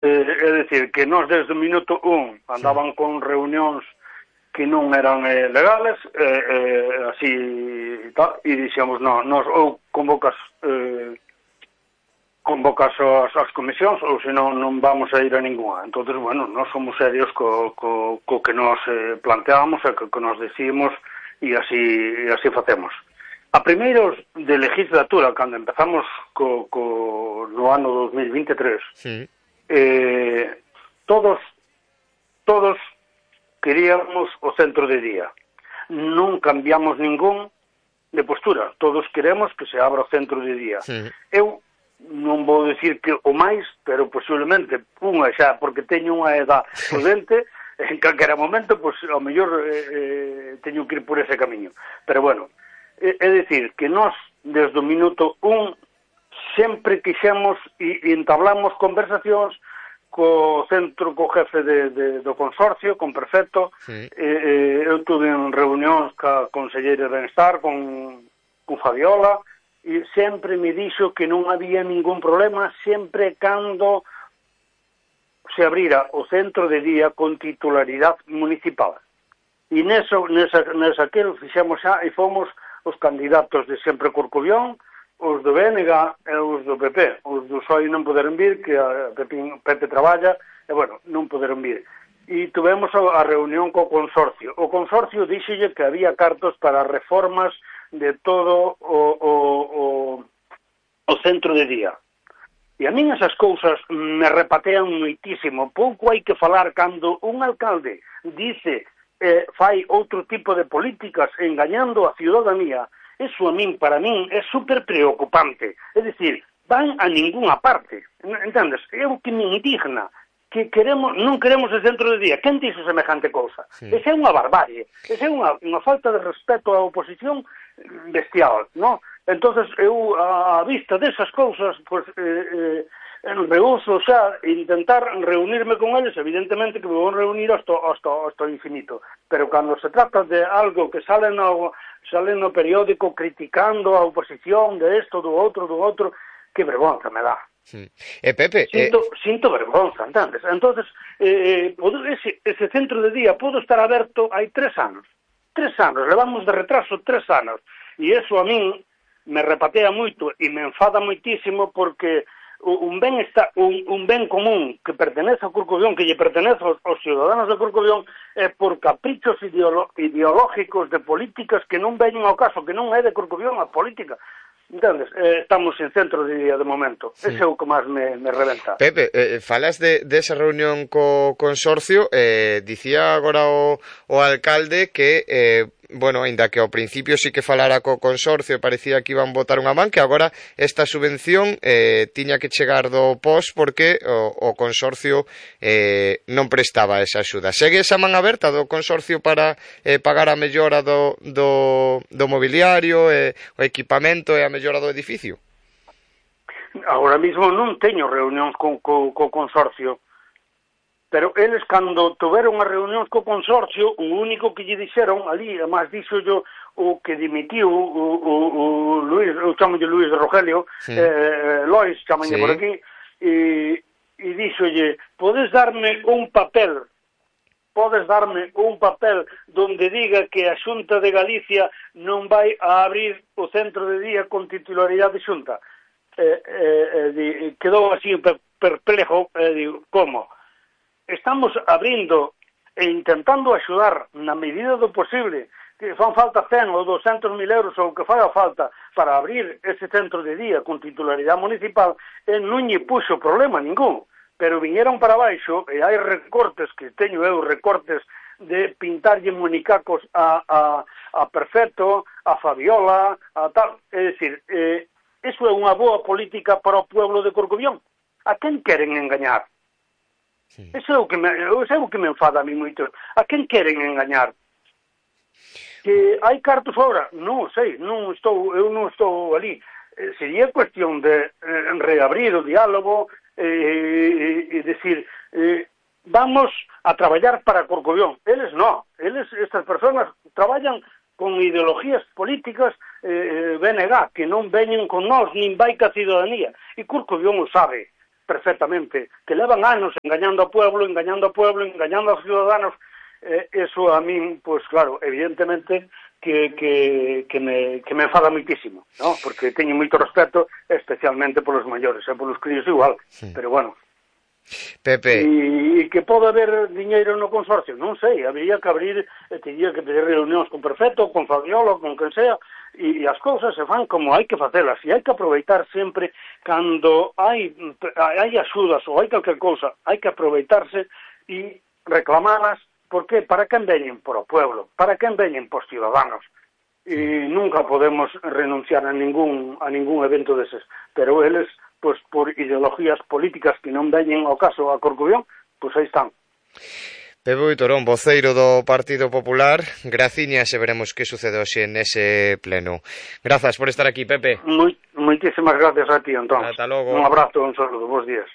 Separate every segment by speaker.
Speaker 1: É dicir, que nós desde o minuto 1 andaban con reunións que non eran legales, así e tal, e dixemos, non, nos ou convocas as comisións, ou senón non vamos a ir a ninguna. Entonces, bueno, nós somos serios co que nos planteamos e que nos decimos, e así facemos. A primeiros de legislatura, cando empezamos no ano 2023, sí. Todos queríamos o centro de día. Non cambiamos ningún de postura. Todos queremos que se abra o centro de día. Sí. Eu non vou dicir que o máis, pero posiblemente unha xa, porque teño unha edad prudente, en calquera momento, pois, ao mellor teño que ir por ese camiño. Pero bueno, é dicir, que nós, desde o minuto 1, sempre quixemos e entablamos conversacións co centro, co jefe do consorcio, con prefecto. Sí. Eu tuve en reunións ca conselleira de Benestar, con Fabiola, e sempre me dixo que non había ningún problema sempre cando se abrira o centro de día con titularidade municipal. E nesa que fixemos xa e fomos os candidatos de Sempre Corcubión, os do BNG e os do PP. Os do PSOE non poderon vir, que a Pepe traballa, e bueno, non poderon vir. E tuvemos a reunión co consorcio. O consorcio díxolle que había cartos para reformas de todo o centro de día. E a min esas cousas me repatean moitísimo. Pouco hai que falar cando un alcalde dice fai outro tipo de políticas engañando a ciudadanía. Eso para min, é super preocupante. É dicir, van a ninguna parte. Entendes? É o que me indigna. Que non queremos el centro de día. Quen dixo semejante cousa? Sí. Esa é unha barbarie. Esa é unha falta de respeto á oposición bestial, non? Entonces, eu, a vista desas cousas, pues, rehuso xa intentar reunirme con eles, evidentemente que me vou reunir hasta infinito. Pero cando se trata de algo que sale no periódico criticando a oposición de isto, do outro, que vergonza me dá.
Speaker 2: Sí. Pepe...
Speaker 1: Sinto vergonza, entendes? Entonces, ese centro de día pode estar aberto hai 3 anos. 3 anos, levamos de retraso 3 anos. E eso a min me repatea moito e me enfada moitísimo porque un ben común que pertenece a Corcubión, que lle pertenece aos ciudadanos de Corcubión, é por caprichos ideológicos de políticas que non veñen ao caso, que non é de Corcubión a política. Entendes? Estamos en centro de día de momento. Sí. Ese é o que máis me reventa.
Speaker 2: Pepe, falas de esa reunión co consorcio, dicía agora o alcalde que, bueno, ainda que ao principio sí que falara co consorcio, parecía que iban botar unha man, que agora esta subvención tiña que chegar do POS porque o consorcio non prestaba esa axuda. Segue esa man aberta do consorcio para pagar a mellora do mobiliario, o equipamento e a mellora do edificio?
Speaker 1: Agora mesmo non teño reunións co consorcio, pero eles cando tuveron as reunións co consorcio, o único que lle dixeron ali, además dixo yo o que dimitiu o Luis, eu chamo de Luis de Rogelio, sí. Lois, chamalle sí. Por aquí, e dixolle, podes darme un papel donde diga que a Xunta de Galicia non vai a abrir o centro de día con titularidade de Xunta. Quedou así perplejo, digo, como? Estamos abrindo e intentando axudar na medida do posible, que fan falta 100 ou 200.000 euros ou que faga falta para abrir ese centro de día con titularidade municipal, e non lle puxo problema ningún, pero viñeron para baixo e hai recortes que teño eu, recortes de pintarlle monicacos a Perfecto, a Fabiola, a tal, é dicir, iso é unha boa política para o pueblo de Corcubión. A quen queren engañar? Sí. Eso é o que me enfada a mí moito. A quen queren engañar? Que hai cartos fora? Non sei, eu non estou ali. Sería cuestión de reabrir o diálogo e decir, vamos a traballar para Corcubión. Eles non. Estas persoas traballan con ideologías políticas BNG, que non veñen con nós, nin vai ca ciudadanía. E Corcubión o sabe. perfectamente, que levan anos engañando ao pueblo, engañando aos ciudadanos. Eso a min, pois claro, evidentemente que me enfada moitísimo, ¿no? Porque teño moito respeto, especialmente polos maiores, e polos críos igual, pero bueno.
Speaker 2: Pepe.
Speaker 1: E que pode haber diñeiro no consorcio, non sei, habría que abrir, teria que pedir reunións con prefecto, con Fabiola, con quen sea, e as cousas se fan como hai que facelas, e hai que aproveitar sempre cando hai axudas ou hai calquer cousa, hai que aproveitarse e reclamalas. Porque para quen veñen por o pueblo, para quen veñen por ciudadanos. E nunca podemos renunciar a ningún evento deses. Pero eles, pois, por ideologías políticas que non veñen ao caso a Corcubión, pois aí están.
Speaker 2: Pepe Boitorón, voceiro do Partido Popular, graciñas e veremos que sucede hoxe nese pleno. Grazas por estar aquí, Pepe.
Speaker 1: Moitísimas gracias a ti, Antón.
Speaker 2: Ata logo.
Speaker 1: Un abrazo, un saludo, bons días.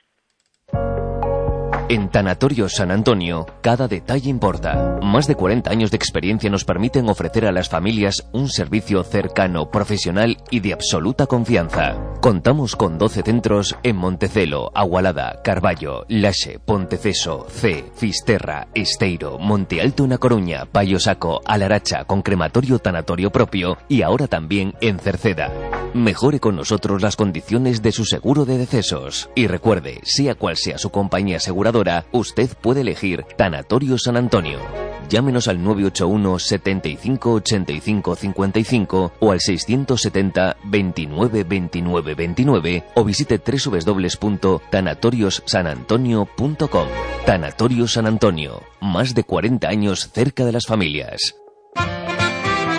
Speaker 3: En Tanatorio San Antonio, cada detalle importa. Más de 40 años de experiencia nos permiten ofrecer a las familias un servicio cercano, profesional y de absoluta confianza. Contamos con 12 centros en Montecelo, Agualada, Carballo, Laxe, Ponteceso, C, Fisterra, Esteiro, Monte Alto na Coruña, Paio Saco, Alaracha, con crematorio tanatorio propio y ahora también en Cerceda. Mejore con nosotros las condiciones de su seguro de decesos. Y recuerde, sea cual sea su compañía aseguradora, usted puede elegir Tanatorio San Antonio. Llámenos al 981 75 85 55 o al 670 29 29 29 o visite www.tanatoriossanantonio.com. Tanatorio San Antonio, más de 40 años cerca de las familias.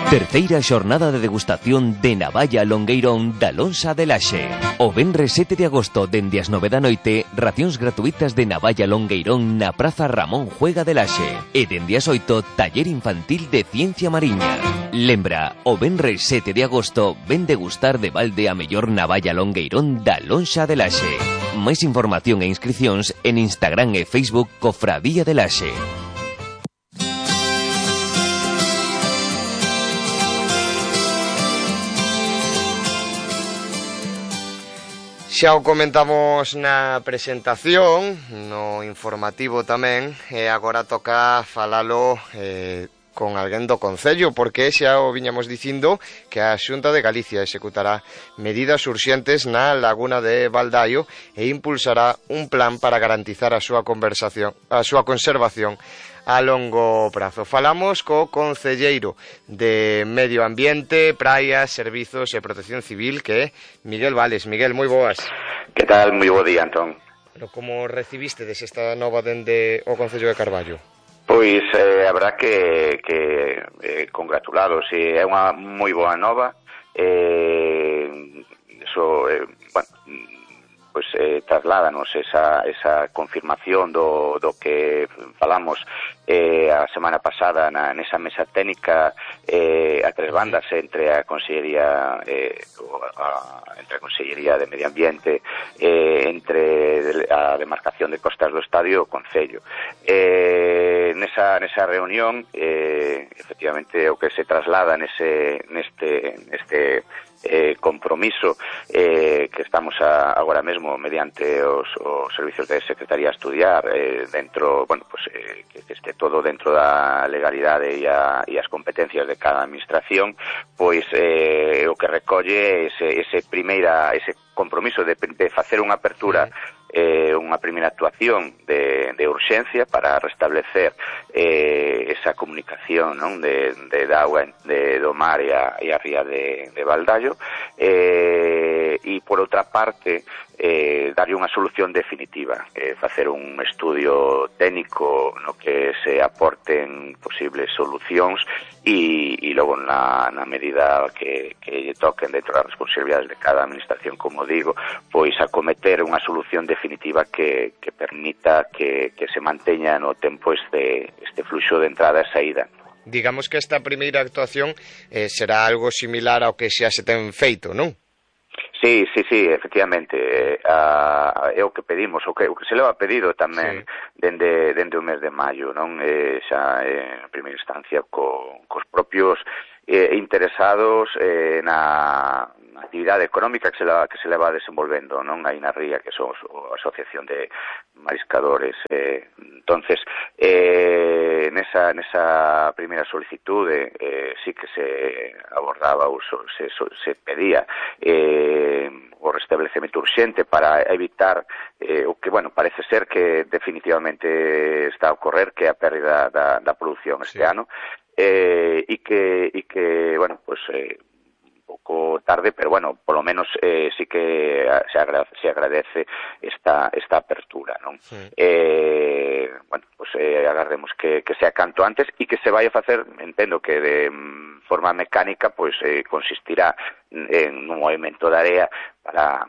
Speaker 3: Terceira xornada de degustación de navalla longueirón da Lonxa de Laxe. O venres 7 de agosto, dende as 9 da noite, racións gratuitas de navalla longueirón na Praza Ramón Juega de Laxe. E dende as 8, taller infantil de ciencia mariña. Lembra, o venres 7 de agosto, ven degustar de balde a mellor navalla longueirón da Lonxa de Laxe. Máis información e inscricións en Instagram e Facebook Cofradía de Laxe.
Speaker 2: Xa o comentamos na presentación, no informativo tamén, e agora toca falalo con alguén do Concello, porque xa o viñamos dicindo que a Xunta de Galicia executará medidas urxentes na laguna de Baldaio e impulsará un plan para garantizar a súa conservación a longo prazo. Falamos co concelleiro de Medio Ambiente, Praias, Servizos e Protección Civil, que é Miguel Vales. Miguel, moi boas.
Speaker 4: Que tal? Moi bo día, Antón.
Speaker 2: Pero como recibiste esta nova dende o Concello de Carballo?
Speaker 4: Pois habrá que congratularos. É unha moi boa nova. Trasládanos esa confirmación do que falamos a semana pasada nesa mesa técnica a tres bandas entre a Consellería de Medio Ambiente, entre a demarcación de Costas do Estadio e o Concello. Nesa reunión, efectivamente, o que se traslada neste compromiso que estamos agora mesmo mediante os servicios de Secretaría a estudiar dentro, que este todo dentro da legalidade e as competencias de cada administración, pois o que recolle ese compromiso de facer unha apertura, unha primeira actuación de urxencia para restablecer esa comunicación, non, de auga do mar e a ría de Baldaio, e por outra parte darlle unha solución definitiva, facer un estudio técnico no que se aporten posibles solucións e logo na medida que lle toquen dentro das responsabilidades de cada administración, como digo, pois acometer unha solución definitiva que permita que se manteña no tempo este fluxo de entrada e saída.
Speaker 2: Digamos que esta primeira actuación será algo similar ao que xa se ten feito, non?
Speaker 4: Sí, efectivamente, é o que pedimos, o que se leva pedido tamén dende o mes de maio, non? Xa en primeira instancia cos propios interesados na actividade económica que se leva desenvolvendo, non? Aí na ría, que son a Asociación de Mariscadores. Entonces, nesa primeira solicitude sí que se abordaba ou se pedía o restablecemento urxente para evitar o que, bueno, parece ser que definitivamente está a ocorrer, que é a pérdida da produción este ano, e que, bueno, pues pouco tarde, pero bueno, polo menos sí que se agradece esta apertura, non? Bueno, pues agardemos que sea canto antes e que se vai a facer, entendo que de forma mecánica, pues consistirá en un movimento de area para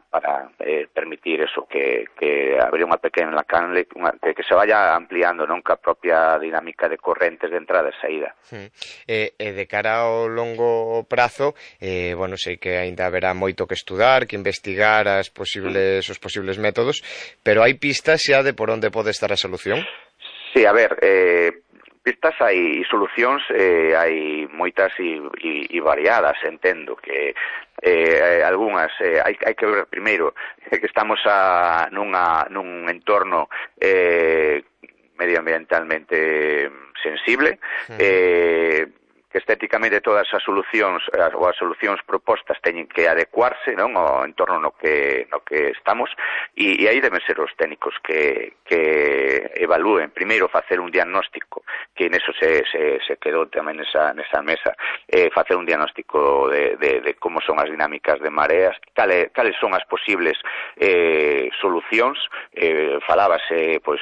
Speaker 4: permitir eso, que abrir unha pequena canle, que se vaya ampliando, non, ca propia dinámica de correntes de entrada e saída.
Speaker 2: De cara ao longo prazo, bueno, sei que ainda haberá moito que estudar, que investigar os posibles métodos, pero hai pistas xa de por onde pode estar a solución?
Speaker 4: Sí, a ver, pistas hai, solucións hai moitas e variadas, entendo que algunhas hai que ver primeiro que estamos nun entorno medioambientalmente sensible, que estéticamente todas as solucións ou as solucións propostas teñen que adecuarse, non, ao entorno no que estamos, e aí deben ser os técnicos que evalúen primeiro, facer un diagnóstico, que neso se quedou tamén nesa mesa, facer un diagnóstico de como son as dinámicas de mareas, cales son as posibles solucións. Falábase, pois,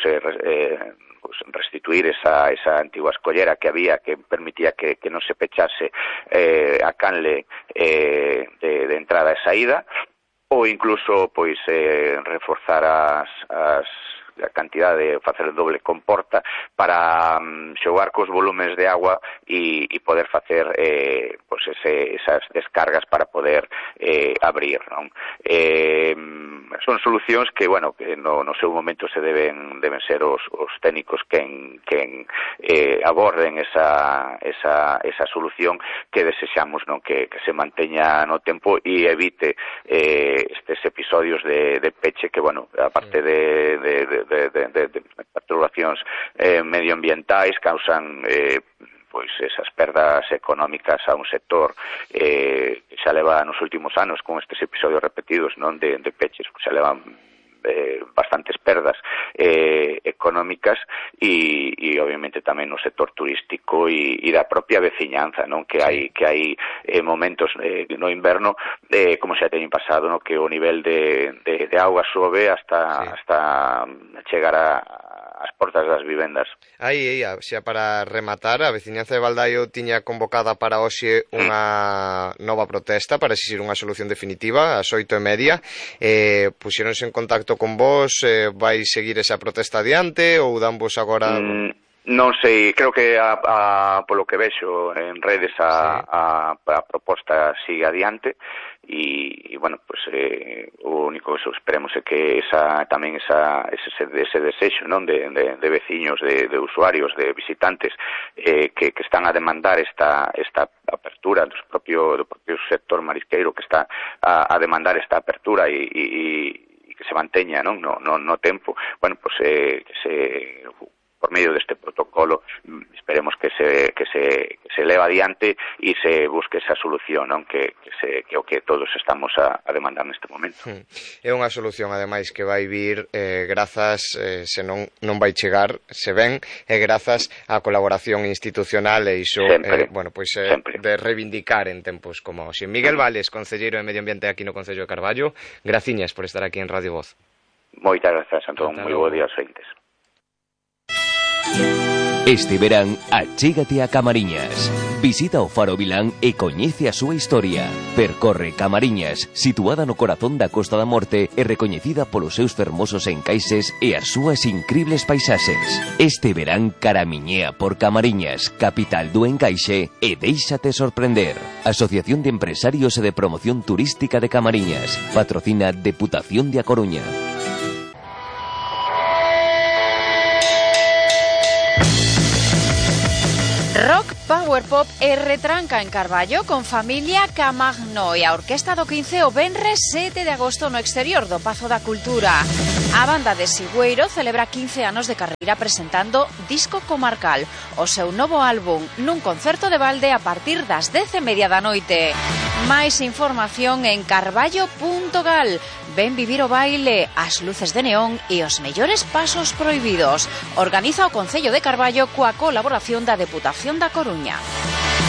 Speaker 4: restituir esa antigua escollera que había, que permitía que non se pechase a canle de entrada e saída, ou incluso pois reforzar a cantidade, facer doble comporta para xogar cos volumes de agua e poder facer pois esas descargas para poder abrir, non? Son solucións que, bueno, que no seu momento se deben ser os técnicos quen aborden esa solución que desexamos, non, que se manteña no tempo e evite estes episodios de peche que, bueno, aparte de perturbacións medioambientais, causan pois esas perdas económicas a un sector que xa leva nos últimos anos con estes episodios repetidos, non, de peches, xa levan bastantes perdas económicas e obviamente tamén no sector turístico e da propia veciñanza, non, que hai momentos no inverno, como xa teñen pasado, non, que o nivel de auga sobe hasta chegar as portas das vivendas.
Speaker 2: Aí, xa para rematar, a veciñanza de Baldaio tiña convocada para hoxe unha nova protesta para exixir unha solución definitiva ás 8:30. Puxéronse en contacto con vos, vai seguir esa protesta adiante ou danvos agora?
Speaker 4: Non sei, creo que polo que vexo en redes a proposta sigue adiante e bueno, pues o único que esperemos é que ese desexo, non, de veciños, de usuarios, de visitantes que están a demandar esta apertura do propio sector marisqueiro, que está a demandar esta apertura e que se manteña, non, no tempo, bueno, pues por medio deste protocolo esperemos que se leva adiante e se busque esa solución, non, que o que todos estamos a demandar neste momento.
Speaker 2: É unha solución, ademais, que vai vir grazas, se non vai chegar, se ven, grazas á colaboración institucional e iso, bueno, pois de reivindicar en tempos como hoxe. Miguel Vales, concelleiro de Medio Ambiente aquí no Concello de Carballo, graciñas por estar aquí en Radio Voz.
Speaker 4: Moitas grazas, Antón, moi bo día aos ointes.
Speaker 3: Este verán, achégate a Camariñas. Visita o Faro Vilán e coñece a súa historia. Percorre Camariñas, situada no corazón da Costa da Morte e recoñecida polos seus fermosos encaixes e as súas incribles paisaxes. Este verán caramiñea por Camariñas, capital do encaixe, e déixate sorprender. Asociación de Empresarios e de Promoción Turística de Camariñas. Patrocina Deputación de A Coruña.
Speaker 5: Rock Power Power Pop e retranca en Carballo con Familia Camagno e a Orquesta do 15 o venres 7 de agosto no exterior do Pazo da Cultura. A banda de Sigüeiro celebra 15 anos de carreira presentando Disco Comarcal, o seu novo álbum nun concerto de balde a partir das 10:30 da noite. Máis información en carballo.gal. Ven vivir o baile, as luces de neón e os mellores pasos prohibidos. Organiza o Concello de Carballo coa colaboración da Deputación da Coruña.